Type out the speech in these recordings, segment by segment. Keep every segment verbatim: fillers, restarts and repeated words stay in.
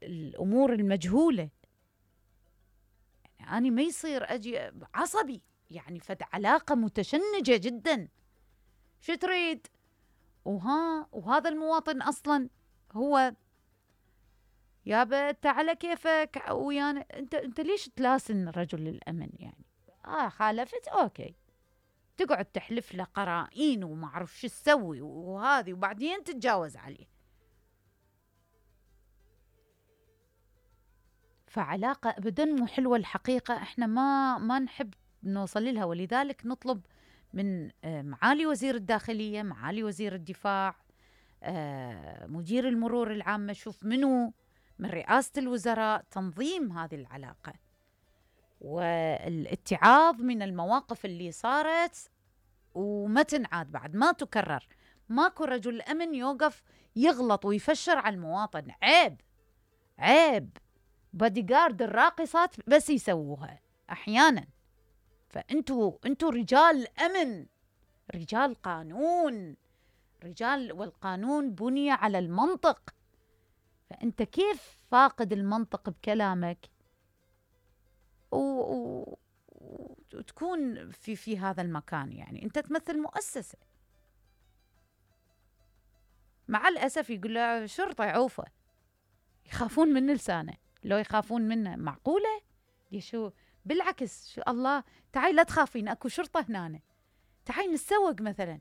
الأمور المجهولة. يعني أنا ما يصير أجي عصبي، يعني فد علاقة متشنجة جدا، شو تريد؟ وها وهذا المواطن أصلا هو يابا أنت على كيفك ويانا، أنت أنت ليش تلاسن رجل الأمن؟ يعني آه خالفت أوكي، تقعد تحلف له قرائن وما أعرف شو تسوي وهذه، وبعدين تتجاوز عليه. فعلاقة أبدا مو حلوة الحقيقة، إحنا ما ما نحب نوصل لها، ولذلك نطلب من معالي وزير الداخلية، معالي وزير الدفاع، مدير المرور العامة، شوف منو من رئاسة الوزراء تنظيم هذه العلاقة، والاتعاظ من المواقف اللي صارت وما تنعاد بعد، ما تكرر. ماكو رجل أمن يوقف يغلط ويفشر على المواطن، عيب عيب. باديغارد الراقصات بس يسووها أحيانا. فأنتوا أنتوا رجال أمن، رجال قانون، رجال، والقانون بني على المنطق. فأنت كيف فاقد المنطق بكلامك و... و... وتكون في في هذا المكان؟ يعني أنت تمثل مؤسسة. مع الأسف يقول له شرطة عوفة، يخافون من لسانه، لو يخافون منه معقولة؟ شو بالعكس، شو الله، تعالي لا تخافين، اكو شرطة هنا، تعالي نتسوق مثلا.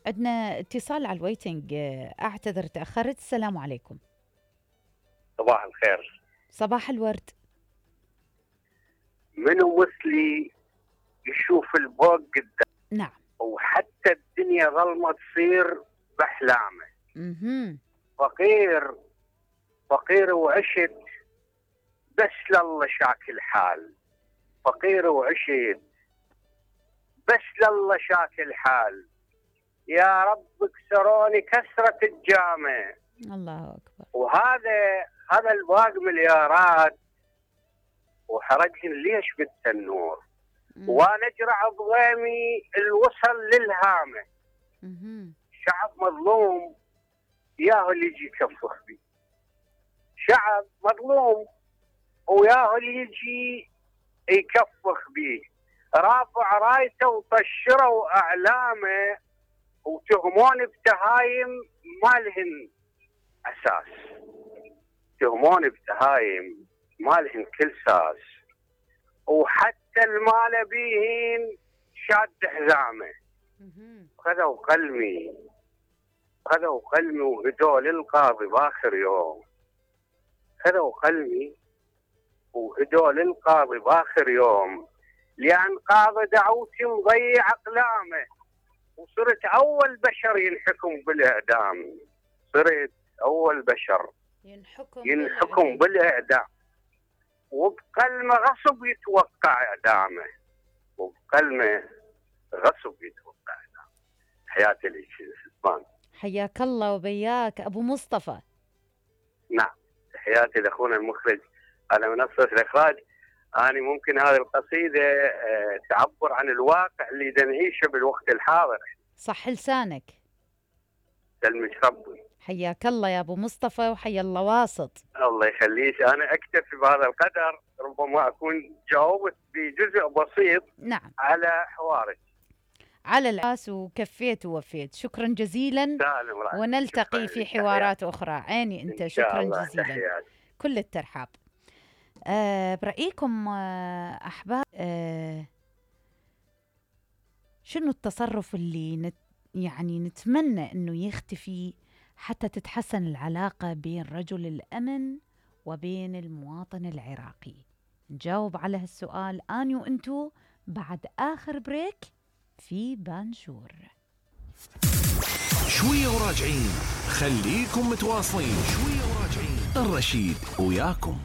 عندنا اتصال على الويتنج، اعتذر تأخرت. السلام عليكم. صباح الخير. صباح الورد. منو مثلي يشوف الفوق قدام؟ نعم. وحتى الدنيا ظلمة تصير بأحلامه. اها. فقير فقير وعشت بس لله شاك الحال، فقير وعشت بس لله شاك الحال، يا رب كسروني كسرة الجامع. الله أكبر. وهذا هذا الباق مليارات وحرقهن ليش بالتنور، وانا اجرع بغيمي الوصل للهامه. شعب مظلوم ياهو اللي يجي يكفخ بي، شعب مظلوم وياهو اللي يجي يكفخ بيه، رافع رايته وطشروا اعلامه وتهمون بتهايم ما لهن اساس، تهمون بتهايم ما لهن كل ساس، وحتى المال بيهن شاد حزامه. خذوا قلمي خذوا قلمي وهدوا للقاضي باخر يوم، خذوا قلمي وهدوا للقاضي باخر يوم، لأن قاضي دعوتي مضيع أقلامه، وصرت أول بشر ينحكم بالإعدام، صرت أول بشر ينحكم, ينحكم بالإعدام، وبقلمه غصب يتوقع إعدامه، وبقلمه غصب يتوقع إعدامه. حياتي لك سلطان. حياك الله وبياك أبو مصطفى. نعم، تحياتي لأخونا المخرج على منصة الإخراج. أنا ممكن هذه القصيدة تعبر عن الواقع اللي نعيشه بالوقت الحاضر. صح لسانك. سلمك ربي. حياك الله يا أبو مصطفى، وحيا الله واسط. الله يخليك. أنا أكتفي بهذا القدر، ربما أكون جاوبت بجزء بسيط نعم على حوارك. على العاس وكفيت ووفيت. شكرا جزيلا، ونلتقي في حوارات أخرى. عيني أنت. شكرا جزيلا. تحيات. كل الترحاب. أه برأيكم أه أحباب، أه شنو التصرف اللي نت يعني نتمنى أنه يختفي حتى تتحسن العلاقة بين رجل الأمن وبين المواطن العراقي؟ نجاوب على هالسؤال أنا وأنتو بعد آخر بريك في بانشور. شوية وراجعين، خليكم متواصلين. شوية وراجعين، الرشيد وياكم.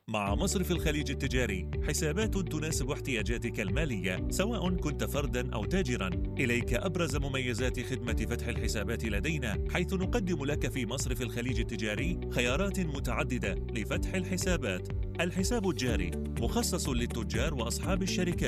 مع مصرف الخليج التجاري، حسابات تناسب احتياجاتك المالية سواء كنت فرداً أو تاجراً. إليك أبرز مميزات خدمة فتح الحسابات لدينا، حيث نقدم لك في مصرف الخليج التجاري خيارات متعددة لفتح الحسابات. الحساب الجاري مخصص للتجار وأصحاب الشركات.